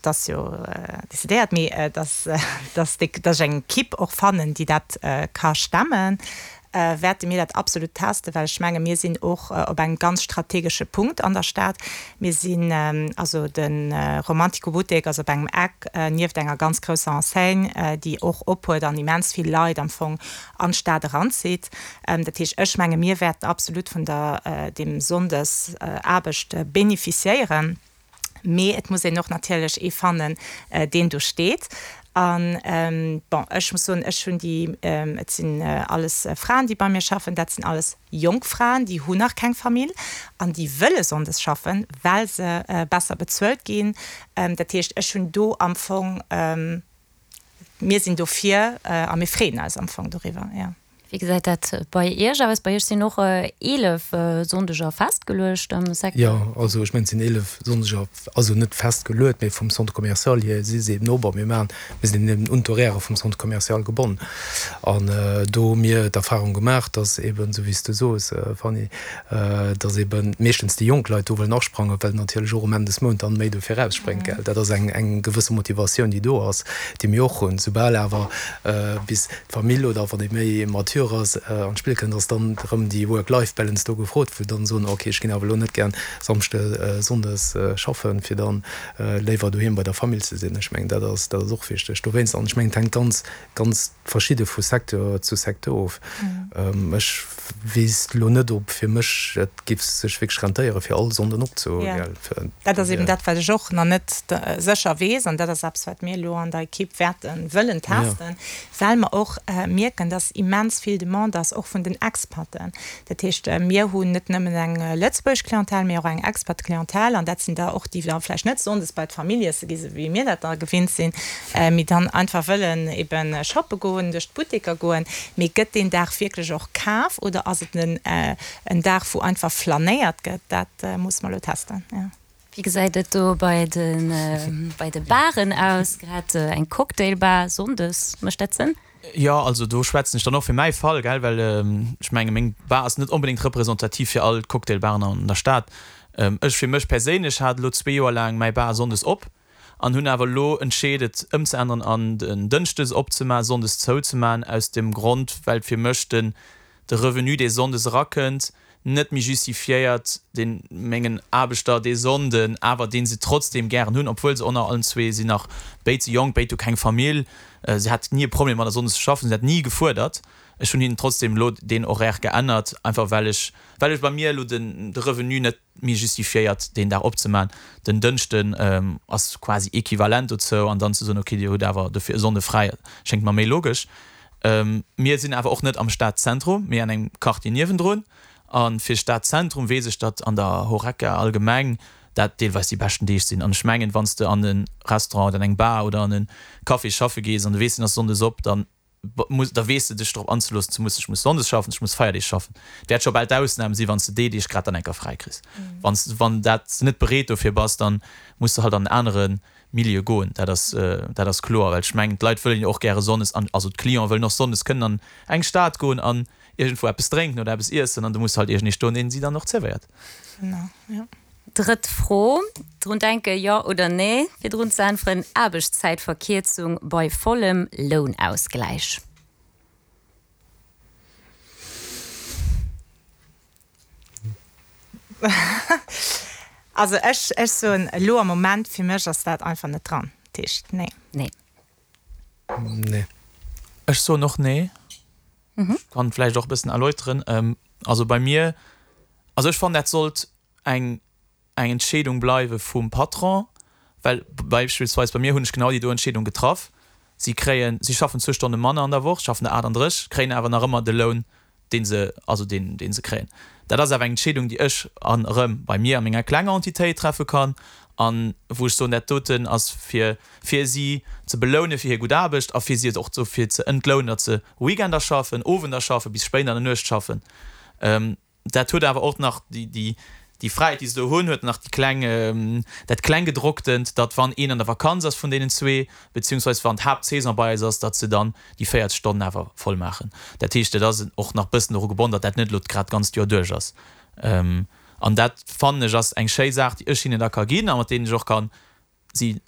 Dat ass jo decidéiert, mee dass, dass déi, dass ech eng Equipe och fannen, déi dat ka stemmen, wäerte mir dat absolut testen, well ech menge mir sinn och op engem ganz strategesche Punkt an der Stad. Mir sinn, also de Romantico Buttek ass op engem Eck nieft enger ganz grousser Enseigne, déi och ophuet an immens vill Leit am Fong an d'Stad eranzitt. Dat heescht, ech menge mir wäerten absolut vun der, deem Sonndesaarbecht bénéficiéieren. Mee et muss een och natierlech ee fannen, deen do steet. An, bon, ech muss soen, ech hunn déi, et sinn alles Fraen, déi bei mir schaffen, dat sinn alles jonk Fraen, déi hunn nach keng Famill an déi wëlle sonndes schaffen, well se besser bezuelt ginn. Dat heescht, ech hunn do am Fong, mir sinn dofir a mir freeën eis am Fong doriwwer, jo. Wéi gesäit dat bei Iech aus? Bei Iech sinn och 11 Sonndeger festgeluecht am Secteur. Jo, also ech mengen, et sinn 11 Sonndeger, also net festgeluet, mee vum Centre commercial hier si se eben op. A mir maachen, mir sinn eben un d'Horairë vum Centre commercial gebonnen. An do hu mir d'Erfahrung gemaach, dass eben, esou wéi s de soos, Fanny, dass eben meeschtens déi jonk Leit do wëllen asprangen, well natierlech och um Enn des Mount dann méi dofir erausspréngt, gell. Dat ass eng, eng gewësse Motivatioun, déi do ass, déi mir och hunn. Soubal awer bis d'Famill oder wann ee méi mature ass an d'Spill kënnt, ass dann erëm déi Work-Life-Balance do gefrot, wou dann soen, ok, ech ginn awer elo net gären Samschde, Sonndes schaffen, fir dann léiwer doheem bei der Famill ze sinn. Ech mengen, dat ass, dat ass och wichteg dowéinst. An ech mengen, et hänkt ganz, ganz verschidde vu Secteur zu Secteur of. Ech weess elo net, ob fir mech et géif sech wierklech rentéieren, fir all Sonnden opzehalen. Dat ass eben dat, wat ech och nach net sécher weess. An dat ass eppes, wat mir elo an der Ekipp wäerte wëllen testen, well mer och mierken, dass immens vill Demande ass, och vun den Expaten. Dat heescht, mir hunn net nëmmen eng lëtzebuergesch Clientèle, mee och eng Expat-Clientèle. An dat sinn der och, déi da vläicht net sonndes bei d'Famill iesse gi, sou wéi mir dat da gewinnt sinn, mee dann einfach wëllen eben shoppe goen, duerch d'Butteker goen. Mee gëtt deen Dag wierklech och kaf oder ass et en Dag, wou einfach flanéiert gëtt? Dat musse mer elo testen, jo. Wéi gesäit et do bei de bei de Baren aus? Grad eng Cocktailbar sonndes, mécht dat Sënn? Jo, also do schwätzen ech dann och fir mäi Fall, gell, well ech menge meng Bar ass net onbedéngt representativ fir all d'Cocktailbaren an der Stad. Ech fir mech perséinlech hat elo zwee Joer laang mäi Bar sonndes op an hunn awer elo entscheet et ëmzeänneren an den Dënschdes opzemaen, sonndes zouzemaen, aus dem Grond well fir mech den de Revenu dee sonndes erakënnt net méi justifiéiert, deen mengen Aarbechter dee Sonnden awer deen se trotzdem gären hunn, obwuel se onnner allen zwee sinn nach béid ze jonk, béid hu keng Famill, se hat ni e Problem mat sonndes ze schaffen, se hat ni gefuerdert. Ech hunn hinnen trotzdem elo deen Horaire geännert, einfach well ech well ech bei mir elo den de Revenu net méi justifiéiert deen Dag opzemaachen. Den Dënschden ass quasi equivalent dozou an dann ze soen, okay dir hutt awer dofir e Sonnde fräi, schéngt mer méi logesch. Mir sinn awer och net am Stadzentrum, mee an engem Quartier niewendrun. A fir Stadzentrum weess ech, datt an der Horeca allgemeng dat deelweis déi beschten Deeg sinn. An ech mengen, wann s de an e Restaurant oder an eng Bar oder an e Café schaffe gees an du weess, deen ass sonndes op, da muss, da weess de dech drop anzeloossen, ze mussen, ech muss sonndes schaffen, ech muss Feierdeeg schaffen. Et wäert scho bal d'Ausnam sinn, wann s de déi Deeg grad dann eng Kéier fräi kriss. Wann s, wann dat s de net bereet dofir bass, dann muss de halt an en anere Milieu goen. Dat ass, dat ass kloer, well ech mengen, d'Leit wëllen jo och gäre sonndes an, also d'Clienten wëllen och sonndes kënnen an eng Stad goen an iergendwou eppes drénken oder eppes iessen an do muss halt iergendee stoen, deen si dann och zerwéiert. Genau, jo. Drëtt Fro, Drun denken, jo oder nee? Fir drun ze äntweren, Aarbechtszäitverkierzung bei vollem Lounausgläich. Also ech, ech soen elo am Moment, fir mech ass dat einfach net dran. Dat heescht, nee. Nee. Nee. Ech soen och nee. Ech kann vläicht och e bëssen erläuteren. Also bei mir, also ech fannen dat sollt eng eng Entscheedung bleiwe vum Patron, well beispillsweis bei mir hunn ech genau déi do Entscheedung getraff. Si kréien, si schaffen zwou Stonne manner an der Woch, schaffen der 38, kréien awer nach ëmmer de Loun, dee se, also deen, dee se kréien. Dat ass awer eng Entscheedung, déi ech an erëm bei mir a menger klenger Entitéit treffe kann an wou ech soen, dat doten ass fir, fir si ze beloune fir hir gutt Aarbecht a fir si och dofir ze entlounen, datt se Weekender schaffen, Owender schaffen, bis spéit an der Nuecht schaffen. Dat huet awer och nach déi Fräiheet, déi se do hunn, huet nach déi kleng, dat Klenggedrocktent, datt wann een an der Vakanz ass vun deenen zwee, beziehungsweis wann d'Haaptsaison bei eis ass, datt se dann déi 40 Stonnen awer voll maachen. Dat heescht, et ass och nach bëssen doru gebonn, datt dat net elo grad d'ganzt Joer duerch ass. An dat fannen ech ass eng schéi Saach, déi ech hinnen da ka ginn a mat deenen ech och kann si.